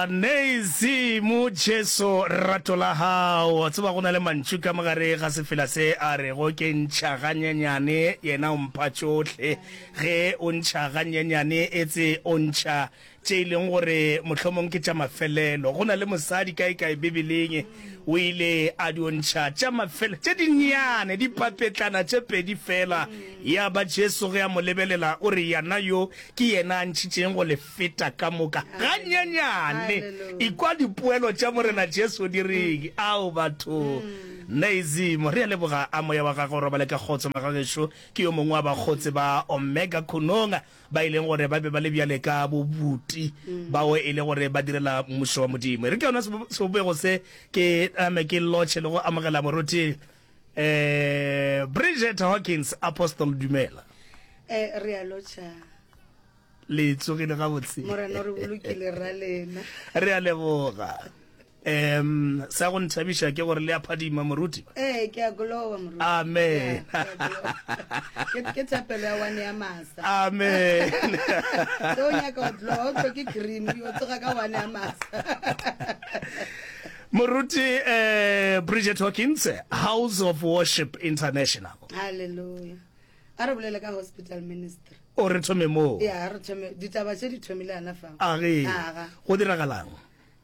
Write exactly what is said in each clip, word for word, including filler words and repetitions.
Nazy mo Jesu rato la hao. Tseba go na le mantšu ka mogare ga sefela se a rego ke ntšha ganyenyane yena o mpha tšohle. Ge o ntšha ganyenyane etse o ntšha tše e leng gore mohlomong ke tša mafelelo. Go na le mosadi kaekae Bibeleng o ile a dio ntšha tša mafelelo tše dinnyane, dipapetlana tše pedi fela. Ya ba Jesu ge a mo lebelela o re, Yana yo ke yena a ntšhitšeng go le feta ka moka ganyenyane. Ekwa dipoelo tša Morena Jesu di reng. Ao batho! Naizimo, re a leboga. A moya wa gagwe o robale ka kgotso, magagešo. Ke yo mongwe wa bakgotse ba Omega Khunong ba e leng gore ba be ba le bjale ka bobuti bao e le gore ba direla Mmušo wa Modimo. E re ke yona sebopego se ke name ke lotšhe le go amogela moruti um Bridget Hawkins. Apostle, dumela. Eh, re a lotšha. Le tsogile gabotse? Morena o re bolokile ra lena. Re a leboga. Um sa go nthabiša ke gore le a phadima moruti. Ee, ke a glowa moruti. Amen. Ke ke thapelo ya one ya masa. Amen. Se o nyaka go glowa, o hloke cream, o tsoga ka one ya masa. Moruti eh Bridget Hawkins, House of Worship International. Hallelujah. A re bolele ka hospital ministry. O re thome moo. Ya, re thome ditaba tše di thomile ana fa. A ge. Go diragalang?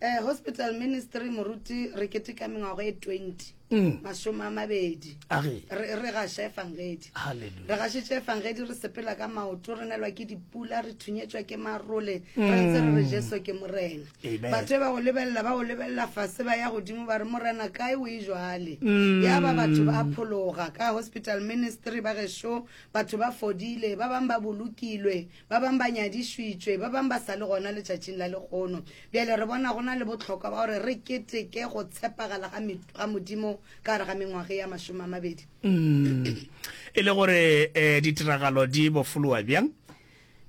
Eh, hospital ministry moruti re keteka mengwaga e twenty. Mm. Masome a mabedi. A ge. Re re gaša efangedi. Hallelujah. Re gašitše efangedi re sepela ka maoto, re nelwa ke dipula, re thunyetšwa ke marole, re ntse re re Jesu ke Morena. Amen. Batho ba go lebelela, ba go lebelela fase ba ya godimo ba re Morena kae o e jwale. Ya ba batho ba phologa ka hospital ministry ba gešo, batho ba fodile, ba bang ba bolokilwe, ba bang ba nyadišitšwe, ba bang ba sa le gona letšatšing la lekgono. Bjale re bona go na le bohlokwa ba gore re keteke go tshepagala ga ga Modimo ka gare ga mengwaga ya masome a mabedi. Mm. E le gore eh, ditiragalo di bofolowa bjang?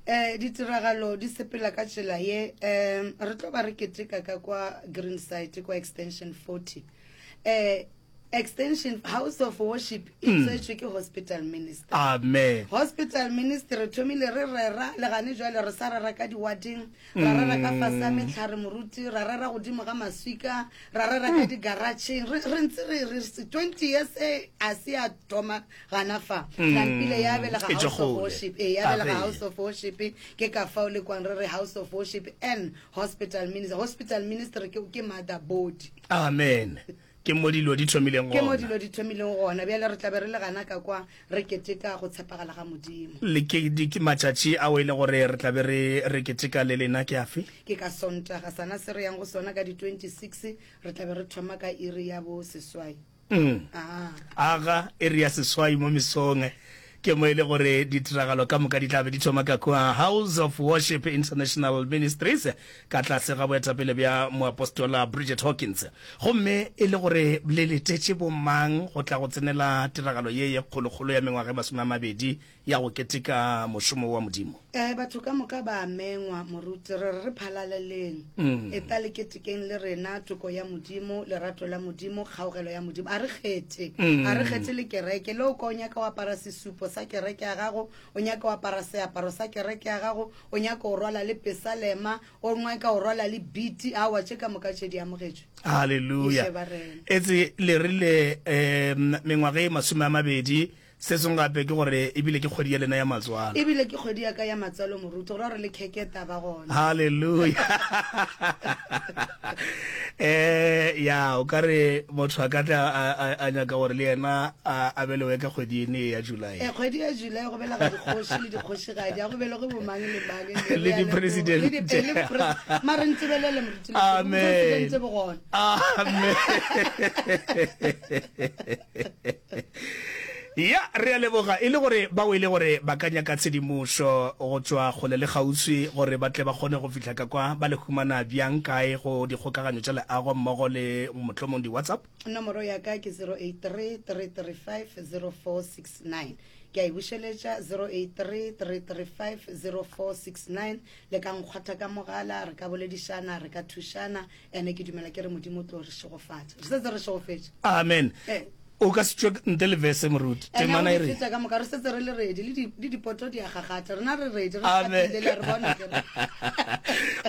Eh, ditiragalo di sepela ka tsela ye. Um re tlo ba re keteka ka kwa Greenside kwa extension forty. Eh Extension House of Worship e tswetšwe ke hospital ministry. Amen. Hospital ministry re thomile re rera le gane jwale re sa rera ka diwading, ra rera ka fase ga mehlare moruti, ra rera godimo ga maswika, ra rera ka digaratšheng. Re re ntse re re twenty years e a se ya thoma gana fa. Nampile ya belega E tšwa House of kgole. Worship, e ya belega Amen. House of Worship, ke ka fao le kwang re re House of Worship and Hospital Ministry. Hospital Ministry ke ke mother body. Amen. Ke mo dilo di thomileng Ke mo gona. dilo di thomileng gona. Bjale re tla be re le gana ka kwa re keteka go tshepagala ga Modimo. Le ke, di, ke matšatši ao e le gore re tla be re, re keteka le lena ke afe? Ke ka Sontaga, sana se re yang go sona ka di twenty-six, re tla be re thoma ka iri ya bo seswai. Mm. Aa. Aga, iri ya seswai mo mesong. Ke mo e le gore ditiragalo ka moka di tla be di thoma ka kua House of Worship International Ministries ka tlase ga boetapele bja Moapostola Bridget Hawkins. Gomme e le gore le letetše bomang go tla go tsenela tiragalo ye ye kgolokgolo ya mengwaga e masome a mabedi ya go keteka mošomo wa Modimo? Eh, batho ka moka ba a mengwa, moruti. Re re re phalaleleng. Eta le ketekeng le rena toko ya Modimo, lerato la Modimo, kgaogelo ya Modimo. A re kgethe. A re kgethe le kereke. Le o ka o nyaka o apara sesupo sa kereke ya gago, o nyaka o apara seaparo sa kereke ya gago, o nyaka o rwala le pesalema, o nyaka o rwala le biti, aowa, tše ka moka tše di amogetšwe. Haleluya. Ke sheba rena. Etse le rile um mengwaga e masome a mabedi. Se sengwe gape ke gore ebile ke kgwedi ya lena ya matswalo. Ebile ke kgwedi ya ka ya matswalo, moruti, go ra gore le kheke taba gona. Haleluya. Eh, ya, o ka re motho a ka tla a, a, a nyaka gore le yena a, a belewe ka kgwedi ene ya July. Eh, kgwedi ya July go belega dikgoši le dikgošigadi, a go belege bomang le mang, Le le di-president. le di-, le di-pres-, mare ntebelele, moruti, le Amen. presidente bo gona. Amen. Ya, re a leboga. E le gore bao e le gore ba ka nyaka tshedimošo go tšwa kgole le kgauswi gore ba tle ba kgone go fihla ka kwa, ba le humana bjang, kae go dikgokaganyo tša leago mmogo le mohlomong di-WhatsApp? Nomoro ya ka ke zero eight three, three three five, zero four six nine. Ke a e bušeletša, zero eight three, three three five, zero four six nine. Le ka nkgwatha ka mogala, re ka boledišana, re ka thušana, ene ke dumela ke re Modimo o tlo re šegofatša. Re setse re šegofetše. Amen. Eh. O ka se tšwe ntle le verse, moruti. Ene Temana o e di re. feta ka moka, re setse re le ready, le di, le dipoto di a gagatha. Rena re ready, re Amen. hlapile, le a re bona ke re.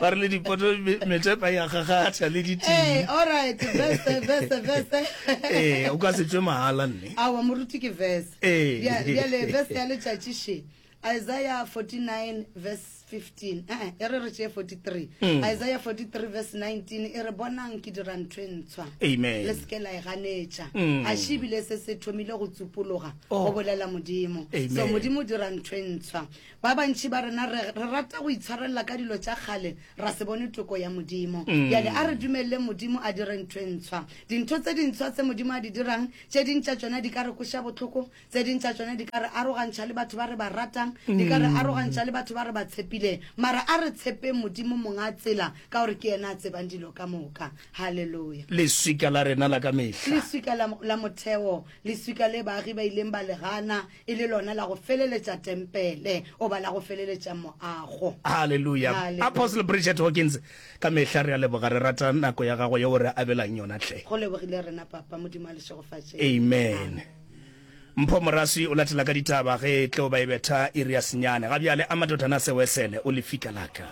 Ba re le dipoto me- metepa ya gagatha le ditee. Ee, all right, verse, verse, verse. Ee, o ka se tšwe mahala nne. Aowa, moruti ke verse. Ee. Bja- Bjale verse ya letšatši še. Isaiah forty-nine verse fifteen. Eh, eh, e re re tšee forty-three. Mm. Isaiah forty-three verse nineteen e re, Bonang ke dira ntho e ntshwa. Amen. Le se ke la e ganetša. Mm. A še ebile se se thomile go tsupologa, Oh. go bolela Modimo. Amen. So Modimo o dira ntho e ntshwa. Ba bantši ba rena re, re rata go itshwarelela ka dilo tša kgale, ra se bone toko ya Modimo. Mm. Bjale a re dumelele Modimo a dire ntho e ntshwa. Dintho tse dintshwa tse Modimo a di dirang, tše ding tša tšona di ka re kweša bohloko, tse ding tša tšona di ka re arogantšha le batho ba re ba ratang, di ka re arogantšha le batho ba re ba tshepileng. Mara a re tshepeng Modimo monga tsela, ka gore ke yena a tsebang dilo ka moka. Hallelujah. Leswika la rena la ka mehla. Leswika la, la motheo, leswika le baagi ba ileng ba le gana, e le lona la go feleletša tempele, oba la go feleletša moago. Hallelujah. Hallelujah. Apostle Bridget Hawkins, ka mehla re a leboga, re rata nako ya gago yeo re abelang yona hle. Go lebogile rena papa, Modimo a le šegofatše. Amen. Mpho Moraswi o latela ka ditaba ge e tlo ba e betha iri ya senyane. Ga bjale a Madodana Sewesele o lefika la ka.